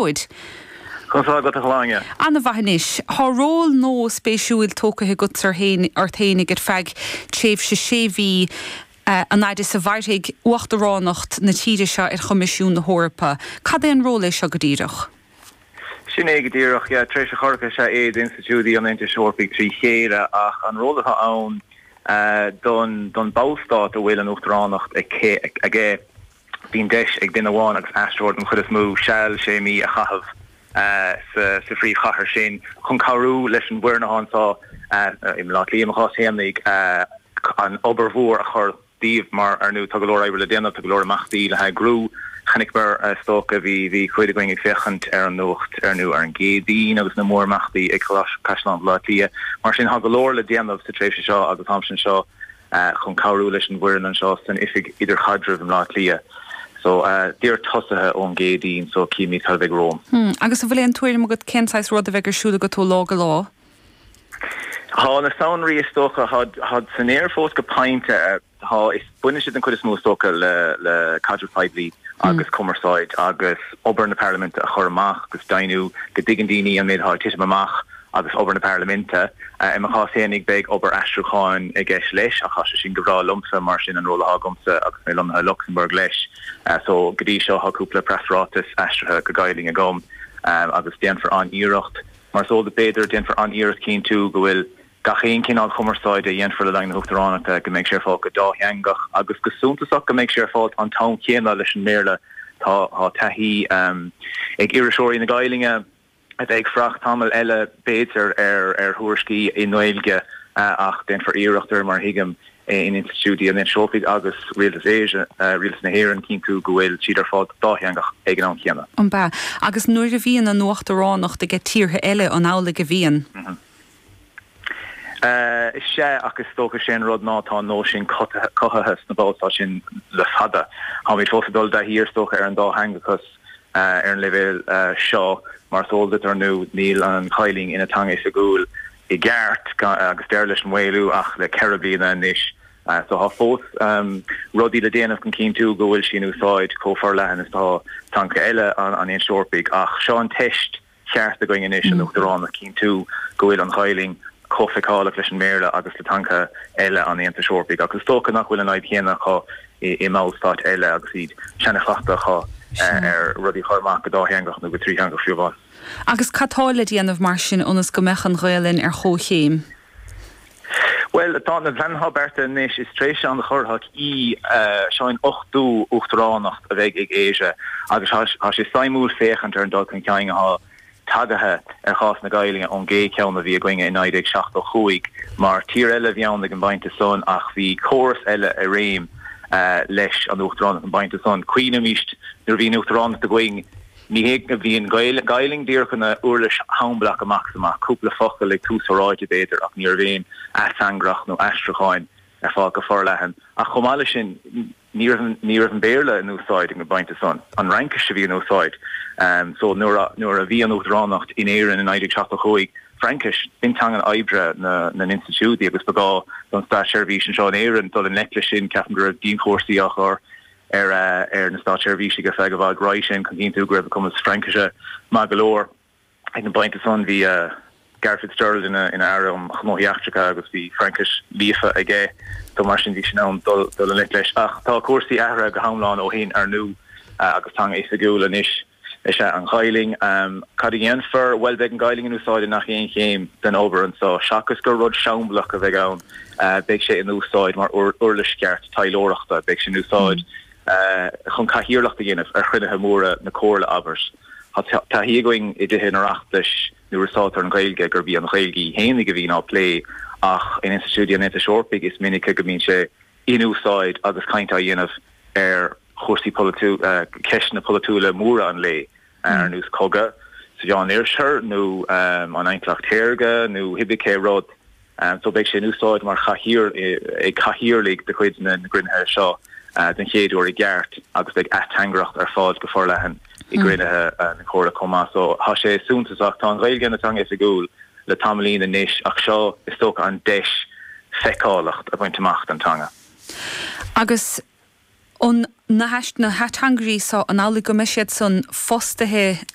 Gearóid? Conas tá agat, a Shláine? Ana-mhaith anois. Thá ról nua spéisiúil tógtha agat ort fhéinig ar feadh tréimhse sé mhí, an fhaid is a mhairfidh uachtaránacht na tíre seo ar Choimisiún na hEorpa. Cad é an ról é seo go díreach? Sin é go díreach, yeah. Tréimhse chorraitheach is ea é d'institiúidí an Aontais Eorpaigh trí chéile ach an ról atá ann don ballstát a bhfuil an uachtaránacht aige, Bíonn deis ag duine amháin agus aistritheoir den chuid is mó seal sé mí a chaitheamh sa phríomhchathair sin chun cabhrú leis an bhfoireann atá anseo i mBaile Átha Cliath, i mo chás fhéinig, an obair mhór a chur díobh mar, ar ndú, tá go leor oibre le déanamh, tá go leor imeachtaí le heagrú. Chonaiceamar, is dócha, bhí cuid againn ag féachaint ar an nuacht, ar ndú, ar an gCéadaoin agus na mórimeachtaí ag Caisleán Bhaile Átha Cliath. Mar sin, tá go leor le déanamh sa tréimhse seo agus táimse anseo chun cabhrú leis an bhfoireann anseo san Oifig Idirchaidrimh i mBleá Cliath. So, díreach tosaithe ón gCéadaoin, so cífimid cad a bheidh romham. Hmm. Agus an bhfuil aon tuairim agat cén saghas rud a bheidh ar siúl agat ó lá go lá? Tá na sonraí is dócha, táid san aer fós go pointe. Tá, is, baineann siad den chuid is mó is dócha le, le caidreamh poiblí agus cumarsáid agus obair na Parlaiminte a chur amach agus deimhniú go dtuigeann daoine an méid atá ag titim amach agus obair na Parlaiminte. I mo chás fhéinig beidh obair aistriúcháin i gceist leis ach tá sé sin go breá liomsa mar sin an ról atá agamsa agus mé lonnaithe i Lucsamburg leis. So go dtí seo tá cúpla preasráiteas aistrithe go Gaelainn agam agus déanfar an-iarracht, mar is eol duit b'fhéidir, déanfar an-iarracht cinntiú go bhfuil gach aon chineál cumarsáide a dhéanfar le linn na hUachtaránachta go mbeidh sé ar fáil go dátheangach agus go suntasach go mbeidh sé ar fáil an t-am chéanna leis an mBéarla. Tá taithí ag iriseoirí na Gaelainne, a bheith ag fanacht tamall eile b'fhéidir ar thuairiscí i nGaeilge ach déanfar iarracht ar, mar a thuigim, in institiúidí an Aontais Eorpaigh agus Rialtas Éire, Rialtas na hÉireann cinntiú go bhfuil siad ar fáil dátheangach ag an am chéanna. An ea? Agus nuair a bhíonn an uachtaránacht aige tíortha eile, an amhlaidh a bhíonn? Is ea, ach is dócha sé an rud ná tá an nós sin cothaithe sna ballstáit sin le fada. Táimid fós ag dul i dtaithí, is dócha, ar an dátheangachas ar an leibhéal seo. Mar is eol duit, ar ndú, níl an Ghaelainn ina teanga oifigiúil i gceart agus deireadh leis an maolú ach le 4 bliana anois. So tá fós rudaí le déanamh chun cinntiú go bhfuil sí in úsáid chomh forleathan is atá teangacha eile an Aontais Eorpaigh ach seo an teist cheart againn anois, an Uachtaránacht, cinntiú go bhfuil an Ghaelainn chomh feiceálach leis an mBéarla agus le teangacha eile an Aontais Eorpaigh. Agus is dócha nach bhfuil an fhadhb chéanna acu i mballstáit eile agus iad seanachleachta acu ar rudaí a chur amach go dátheangach nó go trítheangach fiú amháin. Agus cad tá le déanamh mar sin ionas go mbeadh an Ghaelainn ar chomhchéim? Bhuel, tá na pleananna atá beartaithe anois, is tréimhse an-chorraitheach í seo an ochtú uachtaránacht a bheidh ag Éire agus tá sé suimiúil féachaint ar an dul chun cinn atá tagaithe ar chás na Gaelainne ón gcéad cheann a bhí againne i 1975 mar tír eile a bhí ann ag an bpointe san ach bhí córas eile i réim leis an uachtaránacht an pointe san. Cuimhnímis nuair a bhí an uachtaránacht againn, Ní hé go bhí an Ghaelainn díreach ina uirlis shamblach amach is amach, cúpla focal ag tús óráide b'fhéidir, ach ní raibh aon ateangaireacht nó aistriúcháin ar fáil go forleathan. Ach chomh maith leis sin, ní raibh ní raibh an Béarla in úsáid ag an bpointe san, an Fhraincis a bhí in úsáid. So nuair a nuair a bhí an Uachtaránacht in Éirinn i 1975, Fraincis, b'in teanga oibre na na n-institiúidí agus ba ghá don státseirbhís anseo in Éirinn dul i ngleic leis sin. Ceapaim go raibh dianchúrsaí á chur ar ar na státseirbhísigh ar feadh i bhfad roimhe sin chun cinntiú go raibh a gcumas Fraincise maith go leor. Ag an bpointe san bhí Garret FitzGerald ina ina Aire um Ghnóthaí Eachtracha agus bhí Fraincis líofa aige so mar sin bhí sé in ann dul dul i ngleic leis. Ach tá cúrsaí athraithe go hiomlán ó shin ar ndú agus teanga oifigiúil anois is ea an Ghaelainn. Cad a dhéanfar? Bhuel, beidh an Ghaelainn in úsáid i ngach aon chéim den obair anseo. Seachas gur rud siombalach a bheidh ann, beidh sé in úsáid mar uirlis cheart taidhleoireachta. Beidh sé in úsáid chun cathaoirleacht a dhéanamh ar chruinnithe móra na Comhairle, abair. Tá taithí againn i dTithe an Oireachtais nuair a úsáidtear an Ghaeilge gurb í an Ghaeilge í fhéinig a bhíonn á plé ach in institiúidí an Aontais Eorpaigh is minice go mbíonn sé in úsáid agus caint á dhéanamh ar chúrsaí polaitiúla, ceisteanna polaitiúla móra an lae, ar nós cogadh sa Mheánoirthear nó an intleacht shaorga nó cibé cé rud. So beidh sé in úsáid mar chathaoir ag cathaoirligh de chuid na gcruinnithe seo den chéad uair i gceart agus beidh ateangaireacht ar fáil go forleathan i gcruinnithe na Comhairle chomh maith. So tá sé suntasach. Tá an Ghaeilge ina teanga oifigiúil le tamaillín anois ach seo is dócha an deis feiceálacht a bhaint amach don teanga. Agus an na na hateangairí so, an amhlaidh go mbeidh siad san fostaithe?